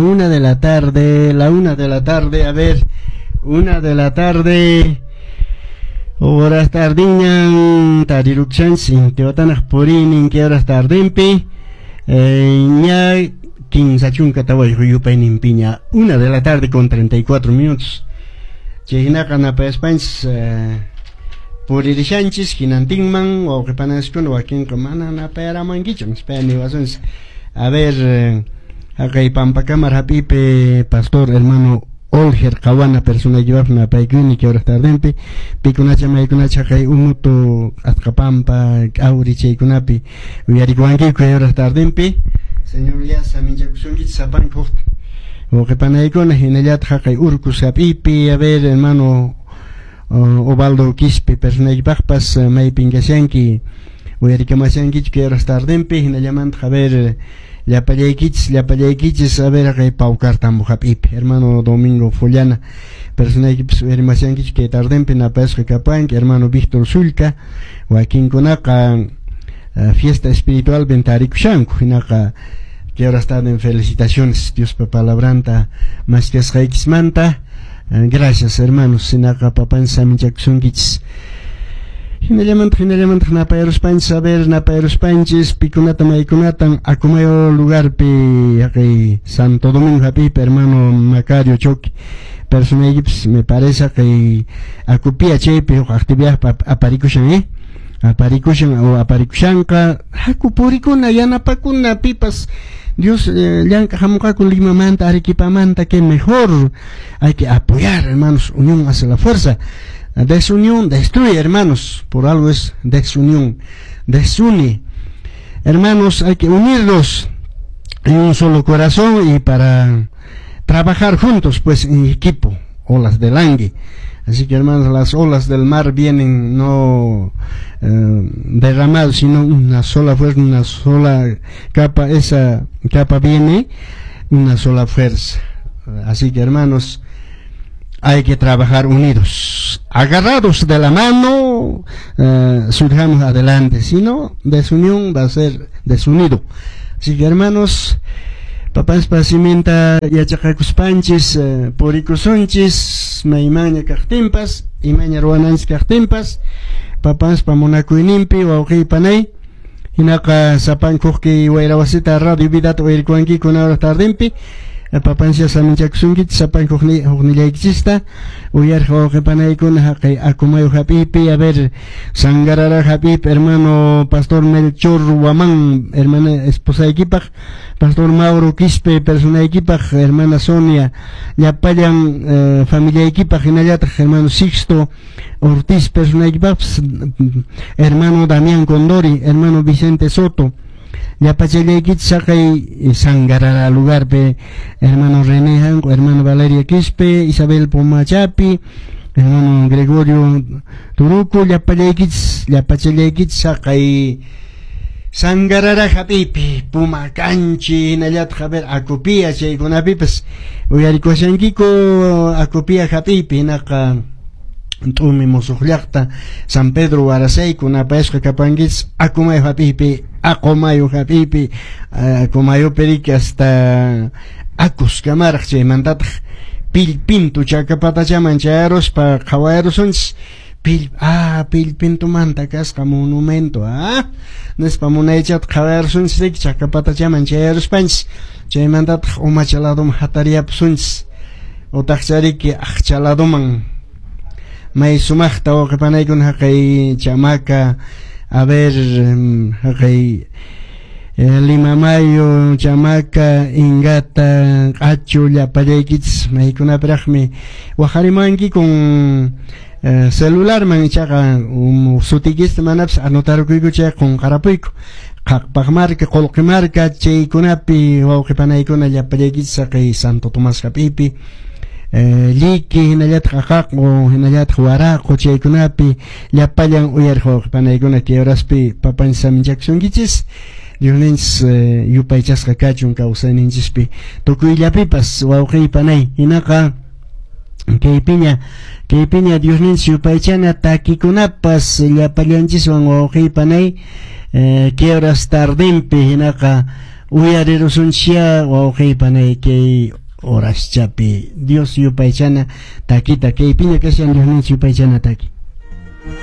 1 de la tarde, la 1 de la tarde, a ver, 1 de la tarde, horas tardiñan, tarirukshanchis, intiwatanaq purinin, que horas tardinpi, ña 34 yupayninpiña, 1 de la tarde con 34 minutos. Chay hinaqa napayaspanchis, puririshanchis, hinantinman, wawqipanaskuna wakinqa mana napayaramankichu, nispaya niwasunchis. A ver, haqay Pampakamar hap'ipi pastor hermano Olger Qawana personaykipaq napaykuni que horas tardinpi, pikunacha maykunacha haqay Umutu Atqapampa K'awri chaykunapi uyarikuwankiku kay horas tardinpi. Señor ya saminchakusunkichis sapanka hukta wawqipanaykuna, hinallataq haqay Urcos hap'ipi, a ver, hermano Obaldo Quispe personaykipaqpas, maypin kashanki, uyarikamashankichu kay horas tardinpi, hinallamantaq, a ver, llapallaykichis, llapallaykichis, a ver, haqay Paucartambo hap'ipi hermano Domingo Follana personaykipas uyarimashankichu kay tardinpi, napayasqa kapanki hermano Víctor Sulca, wakinkunaqa fiesta espiritual tarikushanku, hinaqa kay horas tarden felicitaciones Diospa palabranta maskasqaykismanta. Gracias, hermanos, hinaqa papanchis saminchakusunkichis. Hinallamantaq, hinallamantaq napayaruspanchis, a ver, napayaruspanchis pikunata maykunatan Acomayo lugarpi, haqay Santo Domingo hap'ipi hermano Macario Choque personaykipas, me parece haqay Acopia chaypi huk actividad aparikushan, aparikushan o aparikushanqa, haku purikuna yanapakuna pipas Dios llank'aq hamunqaku Limamanta, Arequipamanta, que mejor hay que apoyar, hermanos, unión hace la fuerza. Desunión destruye, hermanos, por algo es desunión, desune. Hermanos, hay que unirnos en un solo corazón y para trabajar juntos, pues, en equipo, olas del Angue. Así que, hermanos, las olas del mar vienen no derramadas, sino una sola fuerza, una sola capa, esa capa viene una sola fuerza. Así que, hermanos, hay que trabajar unidos, agarrados de la mano, surjamos adelante, si no, desunión va a ser desunido. Así que, hermanos, papaspa siminta yachaqakuspanchis, purikusunchis, maymanña kaqtinpas, imaña ruwananchis kaqtinpas, papaspa munakuyninpi, wawqiy panay, hinaqa sapankuqki wayrawasita radio vidata uyarikuwankiku hora tardinpi, papancia saminchakusunkichis sapanku huknillaykichista uyarqa wawqi panaykuna haqay Acomayo hap'ipi, a ver, Sangarara hap'ipi hermano pastor Melchor Guamán hermana esposaykipaq, pastor Mauro Quispe personaykipaq, hermana Sonia llapallan familiaykipaq, hinallataq hermano Sixto Ortiz personaykipaqpas, hermano Damián Condori, hermano Vicente Soto, llapachallaykichis haqay Sangarara lugarpi hermano René Hanco, hermano Valeria Quispe, Isabel Pomachapi, hermano Gregorio Turuco, llapallaykichis, llapachallaykichis haqay Sangarara hap'ipi, Puma Canchi, hinallataq, a ver, Acopia chaykunapipas uyarikushankiku Acopia hap'ipi, hinaqa T'umi musuq llaqta San Pedro Warasayku napayasqa kapankichis Acomayo hap'ipi, Aqumayo hap'ipi, Acomayopi riki hasta Acus kamaraq, chaymantataq Pillpintu chakapatachaman chayaruspa qhawayarusunchis Pillpintumanta kasqa monumento, nispa munaychata qhawayarusunchis riki chakapatachaman chayaruspanchis, chaymantataq umacha ladoman hatariyapusunchis utaqcha riki aqcha ladoman may sumaqta wawqipanaykuna haqay Chamaka, a ver, haqay Limamayo, Chamaka, Ingata, Q'achu, llapallaykichis maykunapiraqmi waqarimanki con celularman, ichaqa sutiykista manapas anotarukuyku chayqa qunqarapuyku. Qhaqpaqmarka, Qullqimarka chaykunapi wawqipanaykuna llapallaykichis haqay Santo Tomás hap'ipi, Lliki, hinallataq Aqaqu, hinallataq Waraqu chaykunapi llapallan uyariq wawqipanaykuna kay horaspi papanchis saminchakusunkichis. Diosninchis yupaychasqa kachun kawsayninchispi tukuyllapipas, wawqiy panay, hinaqa kaypiña, kaypiña Diosninchis yupaychana takikunapas llapallanchiswan, wawqiy panay, kay horas tardinpi, hinaqa Uyarirusunchia wawqi panay kay horaschapi Dios yupaychana takita kaypiña kashan Diosninchik yupaychana taki.